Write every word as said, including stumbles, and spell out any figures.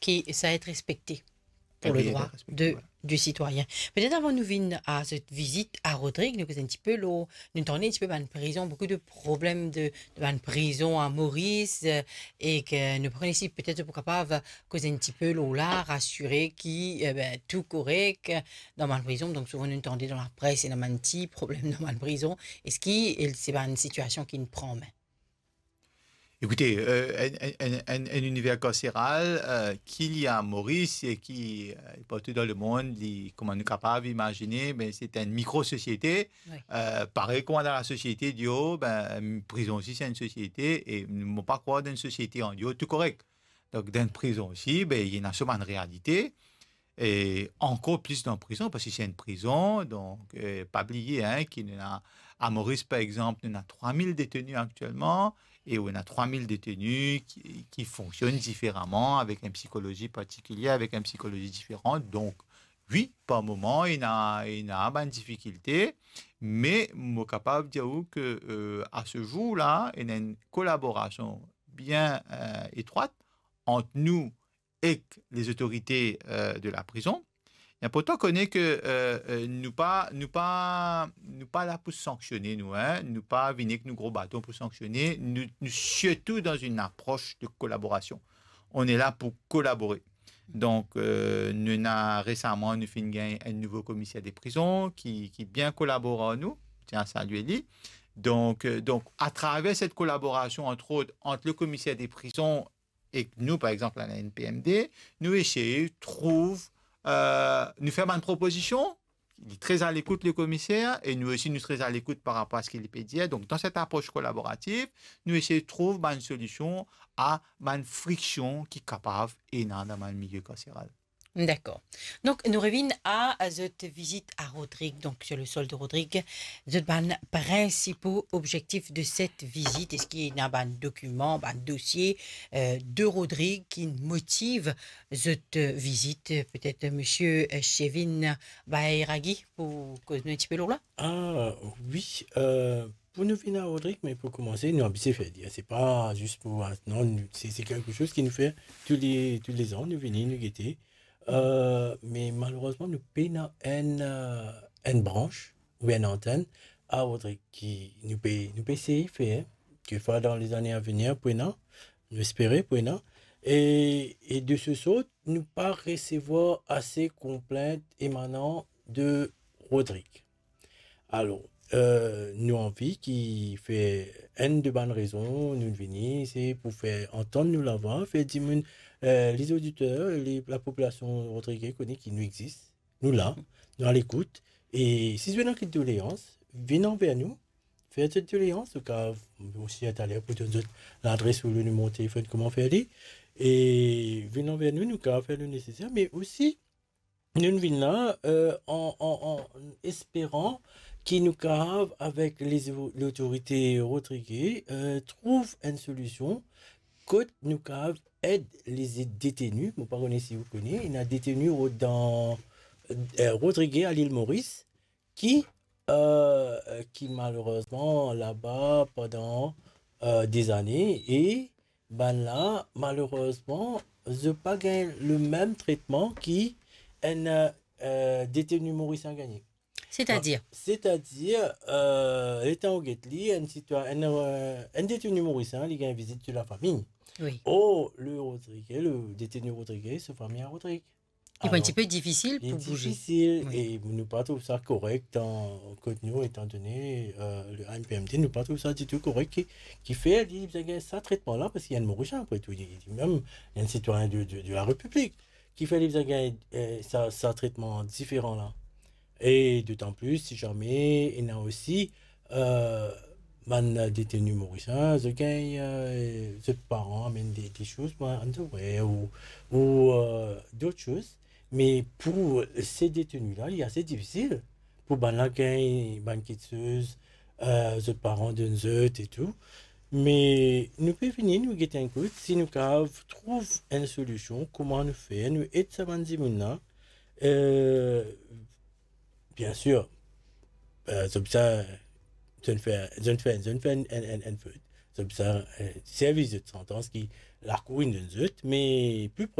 qui ça être respecté pour le droit de, du citoyen. Petet avan nou vinn a zot vizit a Rodrig, nou koz enn tipe lor, nou tann enn tipe bann prizon, boukou de problem de, de bann prizon a Moris, eh, e ki nou pa kone si petet pou kapav koz enn tipe lor la, rasire ki, eh ben, tou korek, eh, dan bann prizon. Donk souvan nou tande dan lapres, ena bann ti problem dan bann prizon. Eski, eh, se bann sitiasion ki nou pran an me? Ekoute, eh, enn, enn, enn, enn, enn iniver karseral, eh, ki li a Moris e ki, eh, partou dan lemond, li, kouma nou kapav imazine, ben, se enn mikro sosiete. Wi. Eh, parey kouma dan lasosiete deor, ben, prizon osi se enn sosiete, e mo pa krwar dan enn sosiete andeor tou korek. Donk, dan prizon osi, ben, ena so bann realite. E ankor plis dan prizon, parski se enn prizon, donk, eh, pa bliye, hein, ki nou ena, a Moris, par exanp, nou ena trwa mil deteni aktielman, e nou ena trwa mil deteni ki, ki fonksionn diferaman, avek enn psikolozi partikilie, avek enn psikolozi diferan. Donk, wi, par moman, ena, ena bann difikilte, me mo kapav dir ou ke, eh, a se zour la, ena enn kolaborasion bien, eh, etrwat ant nou ek lezotorite, eh, de laprizon. Li inportan kone ke, eh, eh, nou pa, nou pa, nou pa la pou sanksione, nou, hein. Nou pa vini ek nou gro baton pou sanksione. Nou, nou sirtou dan enn apros de kolaborasion. On est là pour collaborer. Donk, eh, nou ena resaman, nou finn gagn enn nouvo komiser de prizon ki, ki bien kolabor ar nou. Tien a salie li. Donk, eh, donk, atraver set kolaborasion, antrot, ant le komiser de prizon ek nou, par exanp, la N P M D, nou esey trouv, eh, nou fer bann propozision, li tre a lekout, le komiser, e nou osi, nou tre a lekout par rapor a seki li pe dir. Donk, dan set apros kolaborativ, nou esey trouv bann solision a bann friksion ki kapav ena dan bann milie karseral. Dakor. Donk, nou revinn a zot vizit a Rodrig, donk, sur le sol de Rodrig. Zot bann prinsipo objektif de set vizit, eski ena bann dokiman, bann dosie, eh, de Rodrig ki motiv zot, eh, vizit? Petet, eh, misie, eh, Chevin Bayraghi pou koz nou enn tipe lor la? Ah, wi, eh, pou nou vinn a Rodrig, me pou koumanse, nou abitie fer li. Se pa zis pou, ah, non, nou, se, se kelke soz ki nou fer tou le, tou le zan, nou vini, nou gete. Eh, me malerezman, nou pena enn, eh, enn brans oubien enn antenn a Rodrig ki nou pe, nou pe esey fer, kikfwa dan lezane a venir pou ena, nou espere pou ena. E, e de se sort, nou pa resevwar ase konplint emanan de Rodrig. Alor, eh, nou anvi ki fer enn de bann rezon nou vini, se pou fer antann nou lavwa, fer dimoun, eh, lezoditer, le, lapopilasion rodrige kone ki nou exis, nou la, nou a lekout, e si zot ena kiksoz doleans, vinn anver nou, fer zot doleans, nou kav osi taler pou donn zot ladres ou le nimero telefonn, kouma fer li, e vinn anver nou, nou kav fer le neseser, me osi, nou vinn la, eh, an, an, an esperan ki nou kav, avek lez-, lotorite rodrige, eh, trouv enn solision kot nou kav ed leze deteni. Mo pa kone si ou kone, ena deteni ro-, dan, eh, rodrige a Lil Moris ki, eh, ki malerezman laba pandan, eh, dezane, e bannla, malerezman, zot pa gagn le mem tretman ki enn, eh, deteni morisien gagne. Setadir? Setadir, eh, letan ou get li, enn sitwa-, enn, eh, enn deteni morisien, li gagn vizit de lafami. Wi. Or, le rodrige, le deteni rodrige, so fami a Rodrig. Li pou enn tipe difisil pou bouze. Difisil, wi. E nou pa trouv sa korek dan kot nou, etandone, eh, le A N P M D, nou pa trouv sa ditou korek ki, ki fer li bizin gagn sa tretman la, parski li enn Morisien apre tou, li, li mem enn sitwayin de, de, de la Repiblik, ki fer li bizin gagn, eh, sa, sa tretman diferan la. E dotan plis, si zame ena osi, eh, bann deteni morisien, zot gagn, eh, zot paran amenn de, de soz, bann underwear ou, ou, eh, dot soz. Me pou se deteni la, li ase difisil pou bannla gagn bann kiksoz, eh, zot paran donn zot e tou. Me nou pe vini, nou get enn kout, si nou kav trouv enn solision, kouma nou fer, nou ed sa bann dimoun la. Eh, Biensir, eh, zot bizin, zot fer, zot fer, zot fer enn, enn, enn, enn fot. Zot bizin, eh, servi zot santans ki lakour inn donn zot, me pli pros